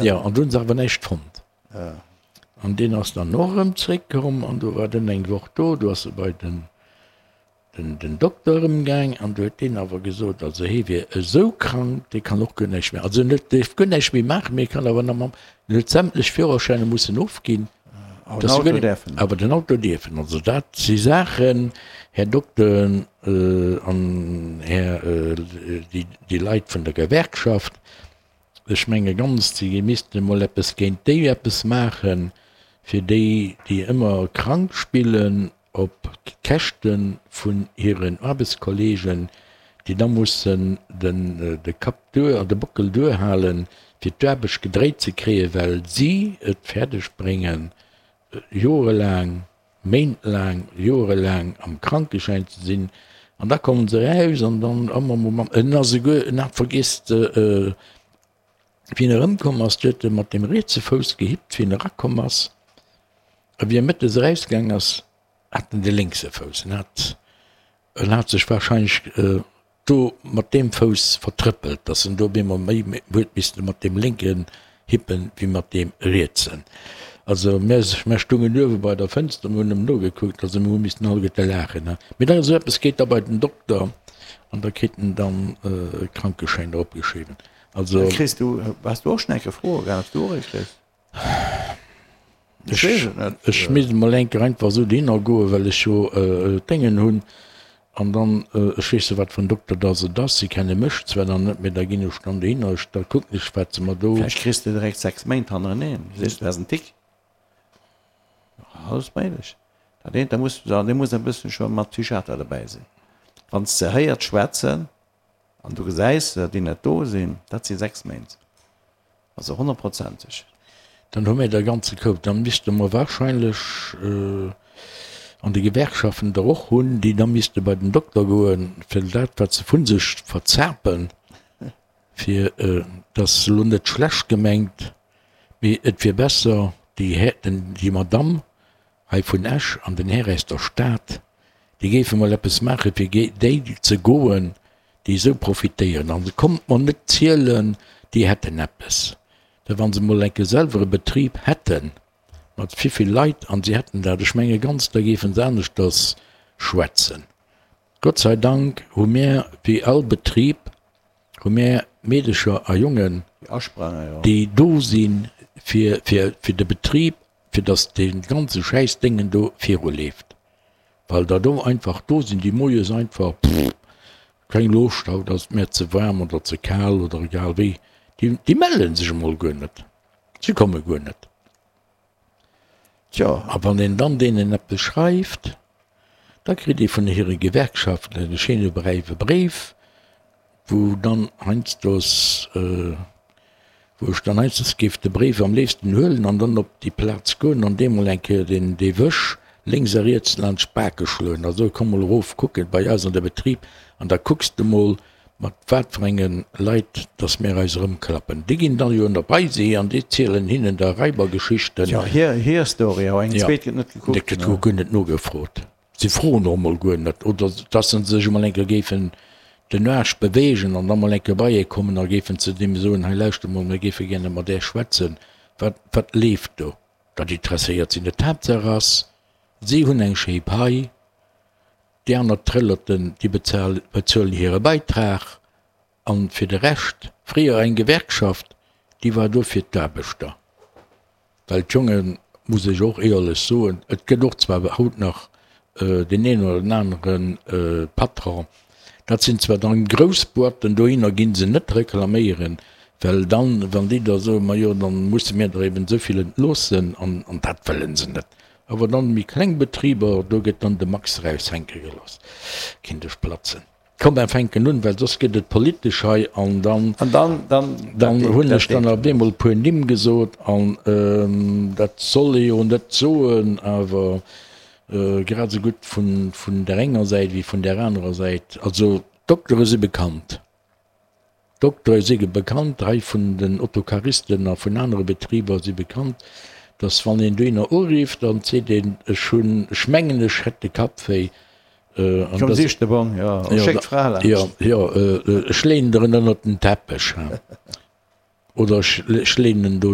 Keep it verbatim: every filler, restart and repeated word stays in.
Jo, an do hunn se awer näischt fonnt. An deen ass dann och erëm zréckkomm an do war den eng Woch do. Do ass e bei den, den Dokter erëm gaang an do huet deen awer gesot, also hee wier esou krank, dee kann och guer näischt méi, also net dierf guer näischt méi maachen, mee e kann awer nach mam, en huet sämtlech Führerschäiner mussen ofginn, Awer den Auto däerfen. Awer den Auto dierfen. Also dat si Saachen, Här Dokter an Här, déi Leit vun der Gewerkschaft, ech menge ganz, si missten emol eppes géint déi eppes maachen, fir déi, déi ëmmer krank spillen op Käschte vun hiren Aarbechtskollegen, déi da mussen de Kapp duer an de Bockel duerhalen, fir d'Aarbecht gedréit ze kréien, well si et fäerdeg bréngen, jorelaang, méintlaang, jorelaang am Krankeschäin ze sinn. An da kommen se eraus an dann, oh, en ass esouguer, en hat vergiess, wéi en erëmkomm ass, du huet e mat dem rietse Fouss gehippt, wéi en erakomm ass. A wéi e mëttes erausgaang ass, hat en de lénkse Fouss. En hat, en hat sech wahrscheinlech do mat deem Fouss vertrëppelt, dass en do op eemol méi huet misste mat deem lénken hippen, wéi mat deem rietsen. Also mär, mär stungen uewe bei der Fënster, mir hunn em nogekuckt, also mir hu missten alleguerte laachen. Mee da esou eppes geet da bei den Dokter an da kritt en dann e Krankeschäin eropgeschriwwen. Also. Kriss du, has du och schon eng Kéier Froe gehat, ob du och ee kriss? Ech weess et net. Ech misst emol eng Kéier einfach esou dohinner goen, well ech jo Déngen hunn an dann, ech weess jo wat fir en Dokter dass et ass, si kenne mech zwar dann net, mee da ginn ech dann dohinner, ech, da kucken ech wat se mer do. Vläicht kriss de direkt sechs Méint hannereneen, sees du has en Tick. Alles méiglech. Dat eent, da muss, da muss e bëssen scho mat Psychiater dobäi sinn. Wann s de héiert schwätzen an du gesäis se, déi net do sinn, dat si sechs Méint. Also honnertprozenteg. Dann hu mir der ganze Koup. Dann misste mer wahrscheinlech an de Gewerkschaften der och hunn, déi da misste bei den Dokter goen, fir dat, wat se vu sech verzapen, fir, dat ass elo net schlecht gemengt, mee et wier besser, déi Här, den, déi Madamm hei vun Esch an den Här aus der Stad, déi géife mol eppes maache fir géint déi ze goen, déi esou profitéieren. An kommt mer net zielen, déi hätten eppes. Da wa se mol enke selwer e Betrib hätten, mat vivill Leit, an si hätten dat, ech menge ganz, da géife se aneschters schwätzen. Gott sei Dank hu mär, wéi all Betrib, hu mär Meedecher a Jongen, déi do si fir de Betrib, fir datt dee ganze Schäissdéngen do viruleeft. Well der do einfach do sinn, déi moies einfach, pff, keng Loscht, haut ass et mär ze waarm oder ze kal oder egal wéi, déi, déi melle sech emol guer net, si komme guer net. Tjo. A wann een dann deenen eppes schreift, da kritt ee vun hire Gewerkschaften e schéine bräiwe Bréif, wou dann heiansdos, wou ech dann heiansdos géif de Bréif am léifsten huelen an dann op déi Plaz goen an deem mol eng Kéier deen, dee Wësch lénks a riets laanscht d'Bake schloen a soe komm mol erof kucken bei eis an de Betrib an da kucks de mol mat wat fir enge Leit dass mir eis erëmklappen. Déi ginn dann jo op eis hi an déi zielen hinnen da Raibergeschichten. Jo, hir, hir Story, awer eng zweet gëtt net gekuckt. Et gëtt guer net nogefrot. Si froen och emol guer net, oder dass se sech emol eng Kéier géifen den Aarsch beweegen an da mol eng Kéier bei ee kommen a géifen zu deem soen, hei lauschter mol, mir géife gäre mat Äech schwätzen, wat, wat leeft do? Dat interesséiert si net. D'Haaptsaach ass, si hunn eng schéi Pai, déi aner Trëllerten, déi bezuelen hire Beitrag an fir de Rescht, fréier eng Gewerkschaft, déi war do fir d'Aarbechter. Well d'Jongen, muss ech och éierlech soen, et gëtt och zwar haut nach deen een oder den anere Patron, dat sinn zwar dann grouss Boîten, dohinner gi se net reklaméieren, well dann, wann déi da soen, majo dann musse mir der eben esou vill entloossen, an dat wëlle se net. Awer dann méi kleng Betriber, do gëtt dann de Max eraushänke gelooss, kinnt ech platzen. Komm mer fänken un, well soss gëtt et politesch hei an dann, An dann, dann, dann hunn ech dann op eemol e puer Nimm gesot an dat soll ee jo net soen, awer grad esou gutt vun, vun där enger Säit wéi vun där anerer Säit. Also d'Doktere si bekannt, d'Doktere si bekannt hei vun den Autocaristen a vun anere Betriber si bekannt, dass wann een dohinner urifft, dann seet een, ech hunn, ech mengen ech hätt de Kapp wéi, Komm sich de Bong, jo, schéck d'Fra laanscht. Jo, jo, ech leeën der en ënnert den Teppech. Oder ech ech leeën en do